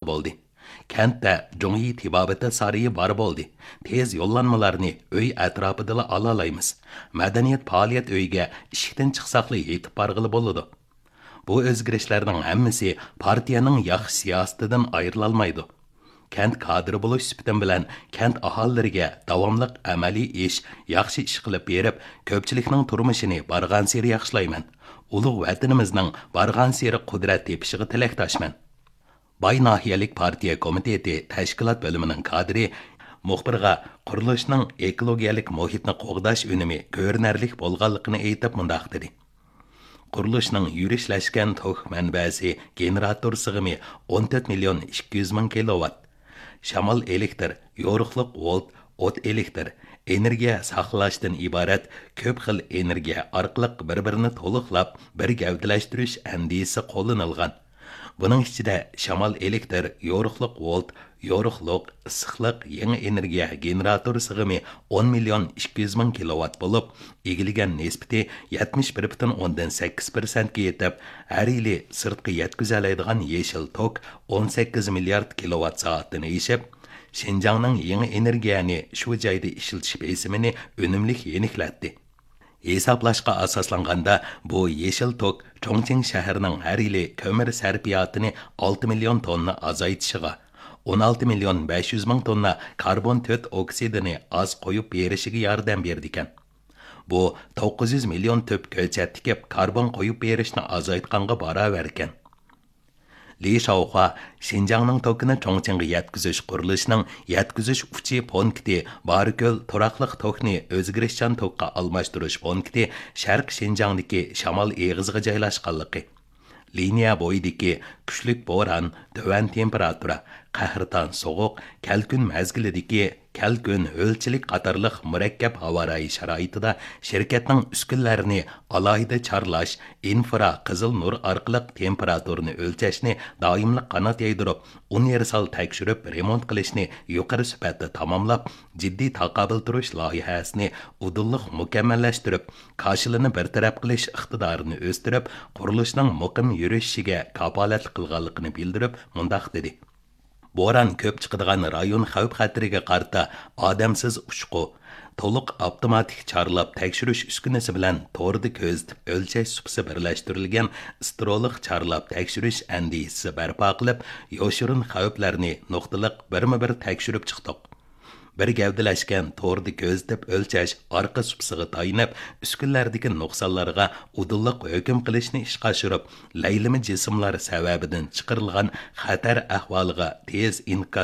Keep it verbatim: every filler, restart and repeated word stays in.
بولدى. كەنتتە جۇڭيى تېبابىتى سارىيى بار بولدى. تېز يوللانمىلارنى ئۆي ئەتراپىدىلا ئالالايمىز. مەدەنىيەت پائالىيەت ئۆيىگە ئىشىكتىن چىقساقلا يېتىپ بارغىلى بولىدۇ. بۇ ئۆزگىرىشلەرنىڭ ھەممىسى پارتىيەنىڭ ياخشى سىياسىتىدىن ئايرىلالمايدۇ. كەنت كادىرى بولۇش سۈپىتىم بىلەن كەنت ئاھالىلىرىگە داۋاملىق ئەمەلىي ئىش، ياخشى ئىش قىلىپ بېرىپ، كۆپچىلىكنىڭ تۇرمۇشىنى بارغانسېرى ياخشىلايمەن. ئۇلۇغ ۋەتىنىمىزنىڭ بارغانسېرى قۇدرەت تېپىشىغا تىلەكداشمەن. باي ناھىيەلىك پارتىيە كومىتېتى تەشكىلات بۆلۈمىنىڭ كادىرى مۇخبىرغا قۇرۇلۇشنىڭ ئېكولوگىيەلىك مۇھىتنى قوغداش ئۈنۈمى كۆرۈنەرلىك بولغانلىقىنى ئېيتىپ مۇنداق دېدى: قۇرۇلۇشنىڭ يۈرۈشلەشكەن توك مەنبەسى گېنېراتور سىغىمى ئون تۆت مىليون ئىككى يۈز مىڭ كىلوۋات. شامال ئېلېكتر، يورۇقلۇق ۋولت، ئوت ئېلېكتر، ئېنېرگىيە ساقلاشتىن ئىبارەت كۆپ خىل ئېنېرگىيە ئارقىلىق بىر-بىرىنى تولۇقلاپ، بىر گەۋدىلەشتۈرۈش ئەندىزىسى قوللىنىلغان. بۇنىڭ ئىچىدە شامال ئېلېكتر، يورۇقلۇق ۋولت، يورۇقلۇق، ئىسسىقلىق، يېڭى ئېنېرگىيە گېنېراتور سىغىمى ئون مىليون ئىككى يۈز مىڭ كىلوۋات بولۇپ، ئىگىلىگەن نىسبىتى يەتمىش بىر پۈتۈن ئوندىن سەككىز پىرسەنتكە يېتىپ، ھەر يىلى سىرتقا يەتكۈزەلەيدىغان يېشىل توك ئون سەككىز مىليارد كىلوۋات سائەتتىن ئېشىپ، شىنجاڭنىڭ يېڭى ئېنېرگىيەنى شۇ جايدا ئىشلىتىش بېسىمىنى ئۈنۈملۈك يېنىكلەتتى. ھېسابلاشقا ئاساسلانغاندا، بۇ يېشىل توك چۇڭچىڭ شەھىرىنىڭ ھەر يىلى كۆمۈر سەرپىياتىنى ئالتە مىليون توننا ئازايتىشىغا، ئون ئالتە مىليون بەش يۈز مىڭ توننا كاربون تۆت ئوكسىدىنى ئاز قويۇپ بېرىشىگە ياردەم بېرىدىكەن. بۇ توققۇز يۈز مىليون تۈپ كۆچەت تىكىپ، كاربون قويۇپ بېرىشنى ئازايتقانغا باراۋەركەن. لى شاۋخۇا شىنجاڭنىڭ توكىنى چۇڭچىڭغا يەتكۈزۈش قۇرۇلۇشىنىڭ يەتكۈزۈش ئۇچى پونكىتى باركۆل تۇراقلىق توكنى ئۆزگىرىشچان توكقا ئالماشتۇرۇش پونكىتى شەرقىي شىنجاڭدىكى شامال ئېغىزىغا جايلاشقانلىقى، لىنىيە بويىدىكى كۈچلۈك بوران، تۆۋەن تېمپېراتۇرا، قەھرىتان سوغۇق، كەلكۈن مەزگىلىدىكى كەلكۈن، ھۆلچىلىك قاتارلىق مۇرەككەپ ھاۋا رايى شارائىتىدا شىركەتنىڭ ئۈسكۈنىلەرنى ئالاھىدە چارلاش، ئىنفرا قىزىل نۇر ئارقىلىق تېمپېراتۇرىنى ئۆلچەشنى دائىملىق قانات يايدۇرۇپ، ئۇنىۋېرسال تەكشۈرۈپ رېمونت قىلىشنى يۇقىرى سۈپەتتە تاماملاپ، جىددىي تاقابىل تۇرۇش لايىھەسىنى ئۇدۇللۇق مۇكەممەللەشتۈرۈپ، كاشىلىنى بىر تەرەپ قىلىش ئىقتىدارىنى ئۆستۈرۈپ، قۇرۇلۇشنىڭ مۇقىم يۈرۈشۈشىگە كاپالەتلىك قىلغانلىقىنى بىلدۈرۈپ، مۇنداق دېدى: بوران كۆپ چىقىدىغان رايون خەۋپ خەتىرىگە قارىتا ئادەمسىز ئۇچقۇ، تولۇق ئاپتوماتىك چارلاپ تەكشۈرۈش ئۈسكۈنىسى بىلەن توردا كۆزىتىپ ئۆلچەش سۇپىسى بىرلەشتۈرۈلگەن ئىسترولۇق چارلاپ تەكشۈرۈش ئەندىزىسى بەرپا قىلىپ، يوشۇرۇن خەۋپلەرنى نۇقتىلىق بىرمۇ بىر تەكشۈرۈپ چىقتۇق. بىر گەۋدىلەشكەن توردا كۆزىتىپ ئۆلچەش ئارقا سۇپىسىغا تايىنىپ، ئۈسكۈنىلەردىكى نۇقسانلارغا ئۇدۇللۇق ھۆكۈم قىلىشنى ئىشقا ئاشۇرۇپ، لەيلىمە جىسىملار سەۋەبىدىن چىقىرىلغان خەتەر ئەھۋالىغا تېز ئىنكاس